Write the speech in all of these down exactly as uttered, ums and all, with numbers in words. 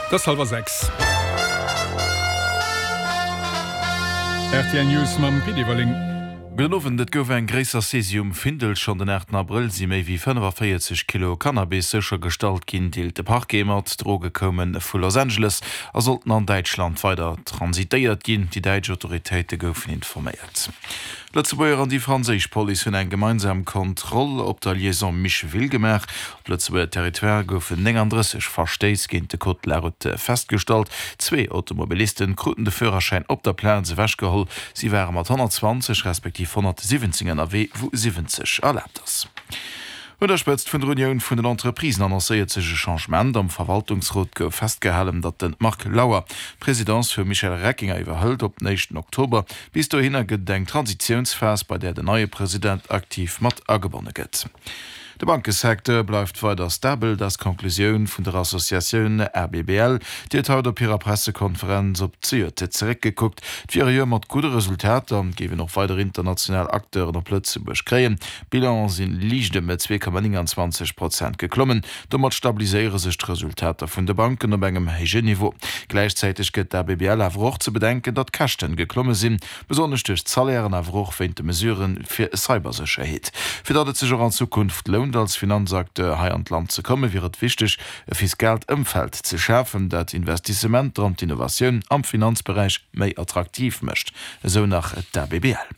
Et ass hallwer sechs. Rtl News mam Pit Everling. Gudden Owend, Et gouf eng gréisser Saisie um Findel. Schonn den aachten Abrëll si méi wéi fënnefaféierzeg Kilo Cannabis séchergestallt ginn, deelt de Parquet mat. D'Droge koume vu Los Angeles a sollten an Däitschland weider transitéiert ginn. Déi däitsch Autoritéite goufen informéiert. D'Lëtzebuerger an déi franséisch Police hunn eng gemeinsam Kontroll op der Liaison Micheville gemaach. Op Lëtzebuerger Territoire goufen néngandrësseg Verstéiss géint de Code de la route festgestallt. Zwee Automobilisten kruten de Führerschäin op der Plaz ewechgeholl. Si ware mat honnertzwanzeg respektiv honnertsiwwenzéng ënnerwee, wou siwwenzeg erlaabt ass. Un der Spëtzt vun der Unioun vun den Entreprisen annoncéiert sech e Changement. Am Verwaltungsrot gouf festgehalen, datt de Marc Lauer d'Presidence vum Michel Reckinger iwwerhëlt op den éischten Oktober. Bis dohinner gëtt et eng Transitiounsphas, bei där den neie President aktiv mat agebonne gëtt. De Bankesecteur bleift weider stabel, dat ass d'Conclusioun vun der Associatioun A B B L. Déi huet haut op hirer Pressekonferenz op d'Zejoert zeréckgekuckt. Et wier e Joer mat gudde Resultater, et géif een och weider international Acteuren op Lëtzebuerg kréien. D'Bilan si liicht ëm zwee Komma nénganzwanzeg Prozent geklommen. Domat stabiliséiere sech d'Resultater vun de Banken op engem héijen Niveau. Gläichzäiteg gëtt d'A B B L awer och ze bedenken, datt d'Käschten geklomme sinn, besonnesch duerch d'Salairen, awer och wéint de Mesurë fir Cybersécherheet. Fir datt et sech och an Zukunft lount als Finanzacteur hei an d'Land ze kommen, wier et wichteg e fiskaalt Ëmfeld ze schafen, dat Investissementer an d'Innovatioun am Finanzberäich méi attraktiv mécht, esou nach d'A B B L.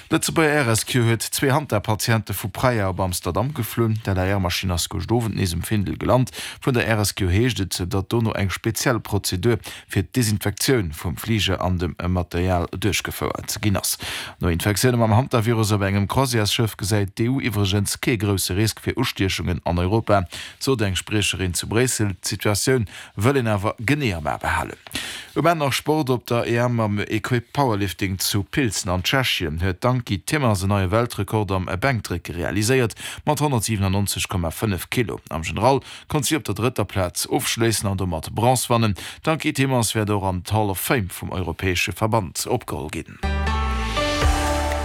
D'Lëtzebuerger Air Rescue huet zwee Hanta-Patiente vu Praia op Amsterdam geflunn. D'L A R-Maschinn ass gëscht Owend nees um Findel gelant. Vun der Air Rescue heescht et, datt dono eng speziell Prozedur fir d'Desinfektioun vum Fliger an dem Material duerchgefouert ginn ass. No Infektioune mam Hantavirus op engem Croisièresschëff gesäit d'E U iwwregens kee grousse Risk fir Ustiechungen an Europa, sot eng Spriecherin zu Bréissel. D'Situatioun wëll een awer genee am A behalen. Um Enn nach Sport, Op der E M am Equipe Powerlifting zu Pilzen an Tschechien huet d'Ankie Timmers en neie Weltrekord am Bänkdrécke realiséiert mat honnertsiwenannonzeg Komma fënnef Kilo. Am General konnt si op der drëtter Plaz ofschléissen an domat Bronze wannen. D'Ankie Timmers wäert och an d'Hall of Fame vum europäesche Verband opgeholl ginn.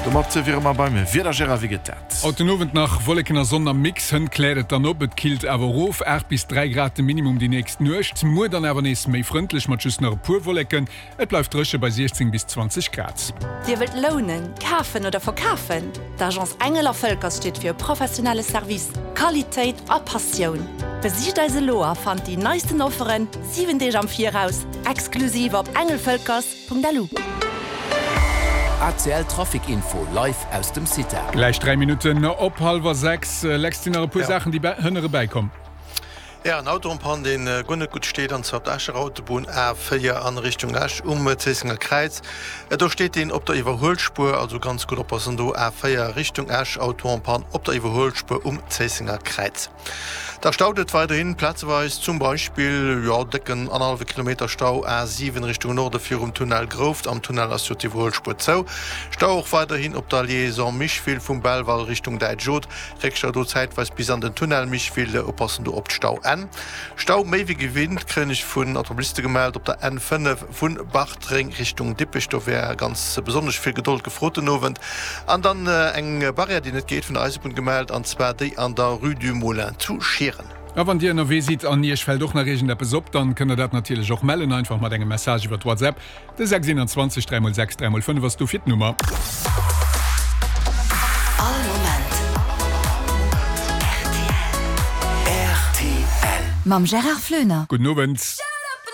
Domat wiere mer beim Wieder. Gérard, wéi gëtt dat? Haut den Owend nach Wolleken a Sonn am Mix, hënt kläert et dann op, et killt awer erof, aacht bis dräi Grad de Minimum déi nächst Nuecht. Muer dann awer nees méi frëndlech mat just nach e puer Wolleken, et bleift dréche bei siechzéng bis zwanzeg Grad. Dir wëllt lounen, kafen oder verkafen? D'Agence Engel a Völkers steet fir e professionelle Service, Qualitéit a Passioun. Besicht eis elo a fannt déi neisten Offeren siwen Deeg am Viraus, exklusiv op engelvölkers Punkt lu. A C L Trafic Info live aus dem Cita. Gläich dräi Minutten op hallwer sechs. Lex, sinn nach e puer Saachen, déi hënne erbäikomm? Ja, en Auto en panne, deen guer net gutt steet, an zwar op der Escher Autobunn A véier an Richtung Esch um Zéissenger Kräiz. Do steet deen op der Iwwerhuelspuer, also ganz gutt oppassen do, A véier Richtung Esch, Auto en panne op der Iwwerhuelspuer um Zéissenger Kräiz. Da staut et weiderhin plazeweis, zum Beispill, jo, décken annerhallwe Kilometer Stau A siwen Richtung Norde virum Tunnel Grouft, am Tunnel ass jo d'Iwwerhuelspuer zou. Stau och weiderhin op der Liaison Micheville vum Belval Richtung Däitsch Oth, Réckstau do zäitweis bis an den Tunnel Micheville, oppassen do op d'Stauenn. Stau méi wéi gewinnt kréien ech vun Automobiliste gemellt op der N fënnef vu Bartreng Richtung Dippech, do wär ganz besonnesch vill Gedold gefrot den Owend. An dann eng Barrière déi net geet, vun der Eisebunn gemellt, an zwar déi an der Rue du Moulin zu Schieren. A wann Dir ënnerwee sidd an Iech fält och nach iergendeppes op, dann kënnt der dat natierlech och mellen, einfach mat engem Message iwwert WhatsApp. De sechs einundzwanzeg dräi mol sechs dräi mol fënnef ass dofir d'Nummer. All Moment R T L. R T L. Mam Gérard Floener. Gudden Owend.